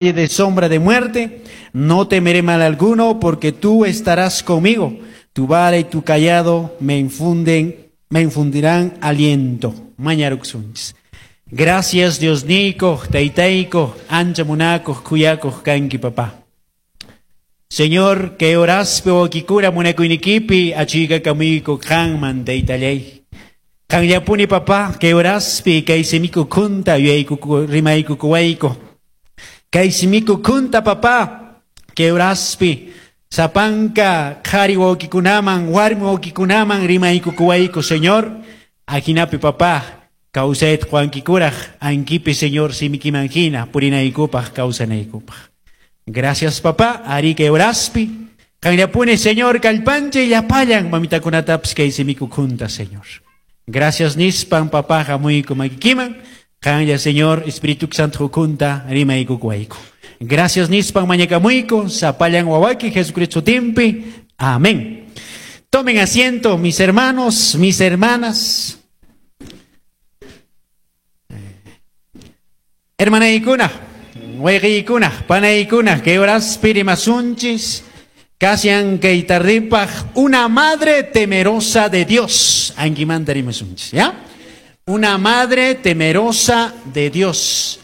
De sombra de muerte, no temeré mal alguno, porque tú estarás conmigo. Tu vara y tu cayado me infundirán aliento. Mañaruksunchis. Gracias, Diosniyku, Taytayku, ancha munakuq, khuyakuq kanki, papá. Señor, kay horaspi wawaykikuna munakuyniykipi achhuykakamuyku qanman, Taytallay. Qanllapuni, papá, kay horaspi kay simiki ukhunta yuyaykuku rimaykukuwayku. Kay simiki ukhunta, papá, kay horaspi sapanka qhari wawqikunaman, warmi wawqikunaman rimaykukuwayku, Señor. Ajinapi, papá, kawsayta quwankikuraq ankipi, Señor, simikiman hina purinaykupaq, kawsanaykupaq. Gracias, papá, ari kay horaspi. Qanllapuni, Señor, kallpanchay llapallan mamitakunatapis kay simiki ukhunta, Señor. Gracias nispan, papá, hamuyku makikiman. Qanlla, Señor, Espíritu Santo ukhunta rimaykukuwayku. Gracias nispan mañakamuyku, sapallan wawayki Jesucristo sutinpi. Amén. Tomen asiento, mis hermanos, mis hermanas. Hermanaykuna, wayqiykuna, panaykuna, kay horaspi rimasunchis, kashan kay tardipaq, una madre temerosa de Dios. Ankimanta rimasunchis, ¿ya? Una madre temerosa de Dios.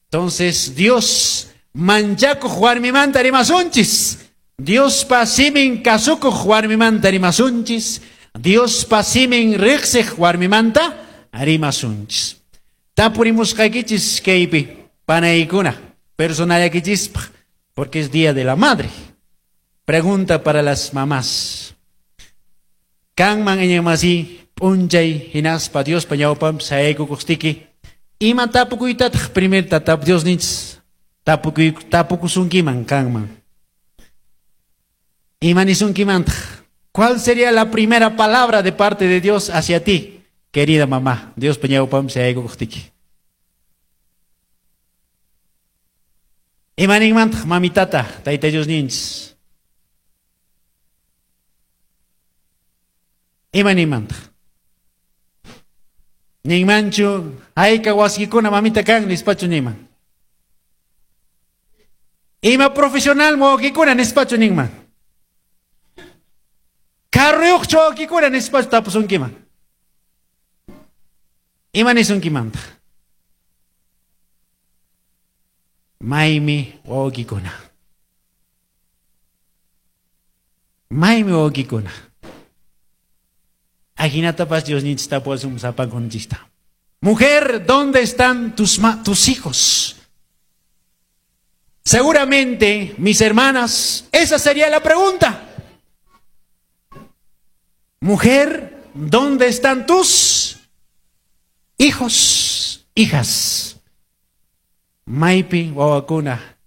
Entonces, Dios manchakuq warmimanta rimasunchis. Diospa simin kasukuq warmimanta rimasunchis. Diospa simin riqsiq warmimanta rimasunchis. Tapurimusqaykichis kaypi, panaykuna, personallakichispaq, porque es Día de la Madre. Pregunta para las mamás. Kanman iñiqmasi p'unchay hinaspa Diospa ñawpanpi sayaykukuqtiki, ima tapukuytataq primerta tap Diosninchis tapukuy tapukusunkiman kanman? Ima nisunkimantaq? ¿Cuál sería la primera palabra de parte de Dios hacia ti, querida mamá? Diospa ñawpanpi sayaykukuqtiki. Ima ninmantaq mamitata, Tayta Diosninchis? Ima ninmantaq? Ninmanchu, hayka wasikuna mamita kan nispachu ninman? Ima profesional wawqikuna nispachu ninman? Carruyuqchu wawqikuna nispachu tapusunkiman? Ima nisunkimantaq? Maymi wawqikuna. Maymi wawqikuna. Ajinatapas Diosninchis tapuwasun sapankunchista. Mujer, ¿dónde están tus hijos? Seguramente, mis hermanas, esa sería la pregunta. Mujer, ¿dónde están tus hijos, hijas? Maypi wawakuna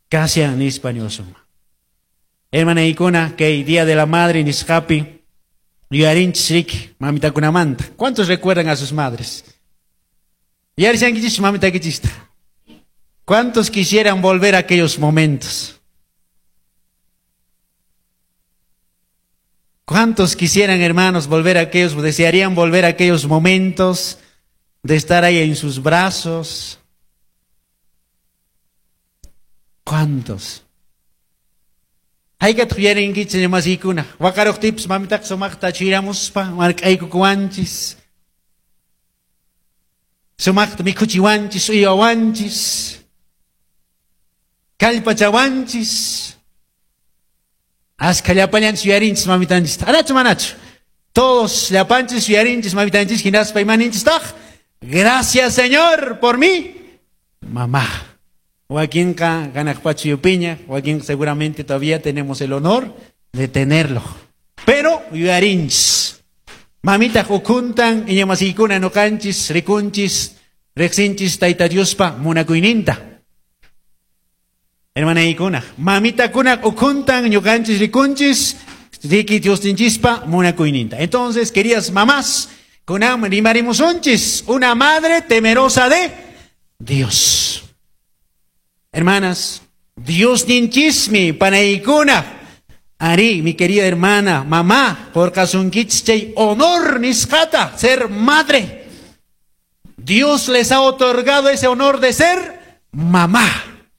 kashan nispa niwasunman. Hermanaykuna, kay Día de la Madre nisqapi yuyarinchis riki mamitakunamanta. ¿Cuántos recuerdan a sus madres? Yuyarishankichis mamitakichista. ¿Cuántos quisieran volver a aquellos momentos? ¿Cuántos quisieran, hermanos, volver a aquellos, desearían volver a aquellos momentos de estar ahí en sus brazos? ¿Cuántos? Haykataq yuyarinkichis masiykuna. Waqaruqtipis mamitaqa sumaqta chiramuspa mark'aykukuwanchis. Sumaqta mikhuchiwanchis, uywawanchis, kallpachawanchis. Askha llapallanchis yuyarinchis mamitanchista. Anachu manachu? Todos llapanchis yuyarinchis mamitanchis hinaspa imaninchistaq. Gracias, Señor, por mi mamá. Wakinqa hanaq pacha yupiña, wakinqa seguramente todavía tenemos el honor de tenerlo. Pero yuyarinchis. Mamitaq ukhuntan iñamasiykuna ñuqanchis, rikunchis, riqsinchis Tayta Diospa munakuyninta. Hermanaykuna, mamitakuna ukhuntan ñuqanchis rikunchis, riki Diosninchispa munakuyninta. Entonces, queridas mamás, kunan rimarimusunchis, una madre temerosa de Dios. Hermanas, Diosninchismi panaykuna. Ari, mi querida hermana, mamá, por chay honor nisqata, ser madre. Dios les ha otorgado ese honor de ser mamá.